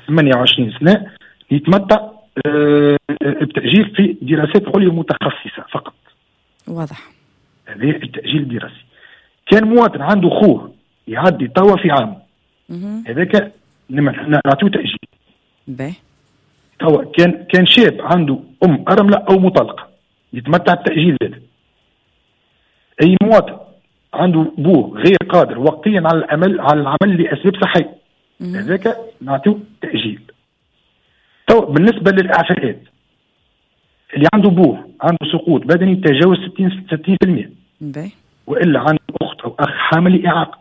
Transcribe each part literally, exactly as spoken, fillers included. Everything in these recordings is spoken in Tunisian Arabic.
ثمانية وعشرين سنة يتمتع آه، بتاجيل في دراسات عليا متخصصة فقط. واضح. هذا التاجيل الدراسي. كان مواطن عنده خوه يعدي توا في عام، هذاك نعطيه تاجيل. باهي. توا كان كان شاب عنده ام ارملة او مطلقه يتمتع بتاجيل زاد. اي مواطن عنده بوه غير قادر وقتيا على العمل على العمل لاسباب صحية، هذاك نعطيه تاجيل. تو بالنسبة للاعفاءات، اللي عنده بوه عنده سقوط بدني تجاوز ستين بالمية، والا عنده اخت او اخ حامل اعاقه،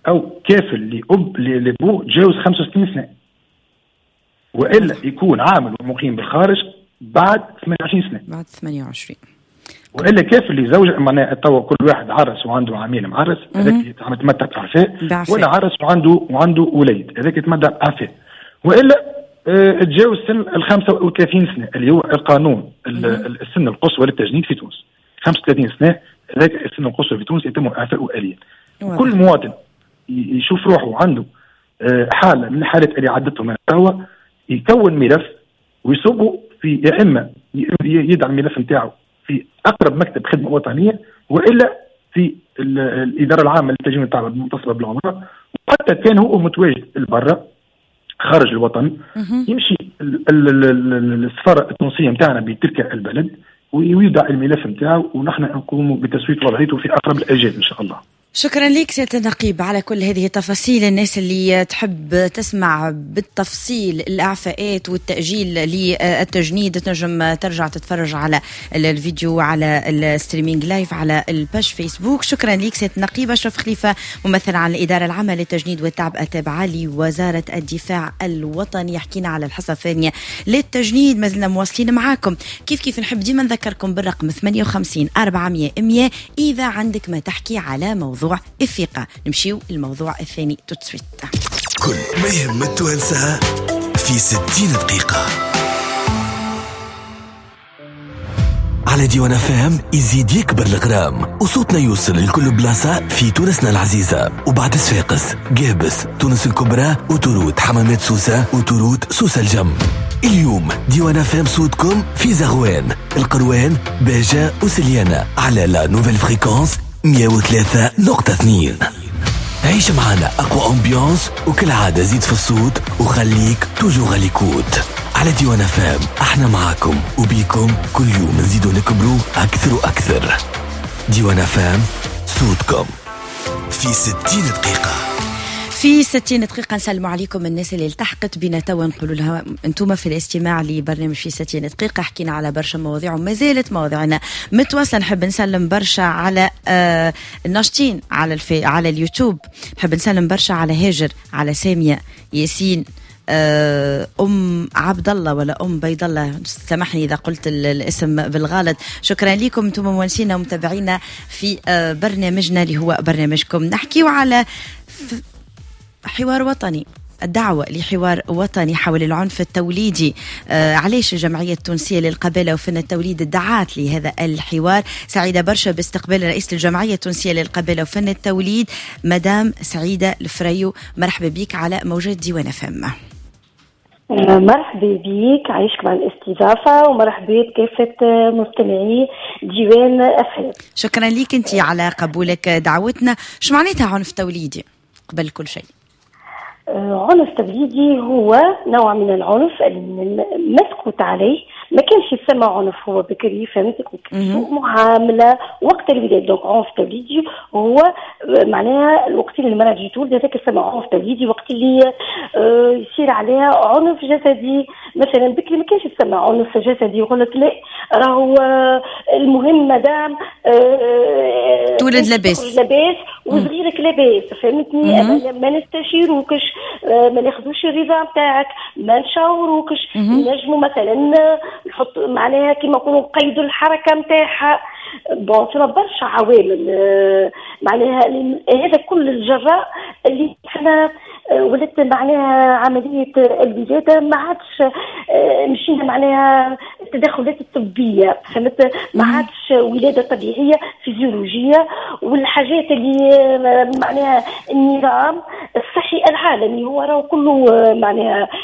او كافل لاب لبوه تجاوز خمسة وستين سنة، والا يكون عامل ومقيم بالخارج بعد ثمانية وعشرين سنة. بعد ثمانية وعشرين. والا كافل لزوجة، معناها توا كل واحد عرس وعنده عامين معرس، هذاك يتمتع باعفاء، ولا عرس وعنده وعنده وليد، هذاك يتمتع باعفاء. والا اه تجاوز سن ال خمسة وثلاثين سنة اللي هو القانون السن القصوى للتجنيد في تونس، خمسة وثلاثين سنة هذاك السن القصوى في تونس يتم اعفاؤه آليا. كل مواطن يشوف روحه عنده اه حاله من الحالات اللي عدتهم توا يكون ملف ويصبه في، يا اما يدعم الملف نتاعو في اقرب مكتب خدمة وطنية، والا في الادارة العامة للتجنيد والتعبئه المتصلة بالعمرة، وحتى كان هو متواجد البرة خارج الوطن يمشي السفارة التونسية نتاعنا بتلك البلد ويودع الملف نتاعو، ونحن نقوم بتسويه وضعيته في اقرب الاجال ان شاء الله. شكرا لك سيادة النقيب على كل هذه التفاصيل. الناس اللي تحب تسمع بالتفصيل الإعفاءات والتأجيل للتجنيد تنجم ترجع تتفرج على الفيديو على ال streaming live على ال page فيسبوك. شكرا لك سيادة النقيب أشرف خليفة، ممثل عن الإدارة العامة للتجنيد والتعبئة التابعة لوزارة الدفاع الوطني، حكينا على الحصة الثانية للتجنيد. ما زلنا مواصلين معاكم. كيف كيف نحب ديما نذكركم بالرقم ثمانية وخمسين أربعمية مية إذا عندك ما تحكي على موضوع الثقة. نمشيو الموضوع الثاني tout de suite. كل ما يهم التوانسة في ستين دقيقة على ديوان فام. يزيد يكبر الغرام وصوتنا يوصل لكل بلاصة في تونسنا العزيزة، وبعد صفاقس، قابس، تونس الكبرى، وتروت حمامات سوسة، وتروت سوسة الجم. اليوم ديوان فام صوتكم في زغوان، القروان، باجة وسليانة على la nouvelle fréquence مية وثلاثة نقطة اثنين. عيش معنا أقوى ambiance، وكالعادة زيد في الصوت وخليك toujours à l'écoute على ديوان فام. احنا معاكم وبيكم كل يوم نزيدو نكبرو أكثر وأكثر. ديوان فام صوتكم في ستين دقيقة. في ستين دقيقة نسلم عليكم الناس اللي التحقت بنا توا، نقولوا لها انتم في الاستماع لبرنامج في ستين دقيقة. حكينا على برشا مواضيع وما زالت مواضيعنا متواصلة. نحب نسلم برشا على آه الناشطين على الفي على اليوتيوب. نحب نسلم برشا على هاجر، على سامية، ياسين، أم عبد الله ولا أم بيض الله، سامحني إذا قلت الاسم بالغلط. شكرا لكم أنتم مونسينا ومتابعينا في برنامجنا اللي هو برنامجكم. نحكيو على حوار وطني، الدعوة لحوار وطني حول العنف التوليدي. آه علاش الجمعية التونسية للقبالة وفن التوليد دعات لهذا الحوار؟ سعيدة برشا باستقبال رئيس الجمعية التونسية للقبالة وفن التوليد مدام سعيدة الفريو. مرحبا بك على موجة ديوان فم. مرحبا بك، عايشك مع الاستضافة، ومرحبا بكافة مستمعي ديوان أف. شكرا لك أنت على قبولك دعوتنا. شو معناتها عنف توليدي قبل كل شيء؟ عنف توليدي هو نوع من العنف المسكوت عليه، ما كانش يسمى عنف هو بكري، فهمتك، معاملة وقت الولادة. donc عنف توليدي هو معناها الوقت اللي المراة تجي تولد هذاك يسمى عنف توليدي. وقت اللي يصير عليها عنف جسدي مثلا، بكري ما كانش يسمى عنف جسدي، يقول لك لا راهو المهم مادام تولد لاباس لاباس وصغيرك لاباس، فهمتني، ما نستشيروكش، ما ناخذوش الرضا نتاعك، ما نشاوروكش، نجموا مثلا نحط معناها كيما نقولوا نقيدوا الحركة نتاعها. bon فما برشا عوامل معناها هذا كل الجراء اللي احنا ولدت معناها عملية الولادة ما عادش مشينا معناها التدخلات الطبية، فهمت، ما عادش ولاده طبيعية فيزيولوجيه، والحاجات اللي معناها النظام الصحي العالمي، هو راهو كله آه، معناها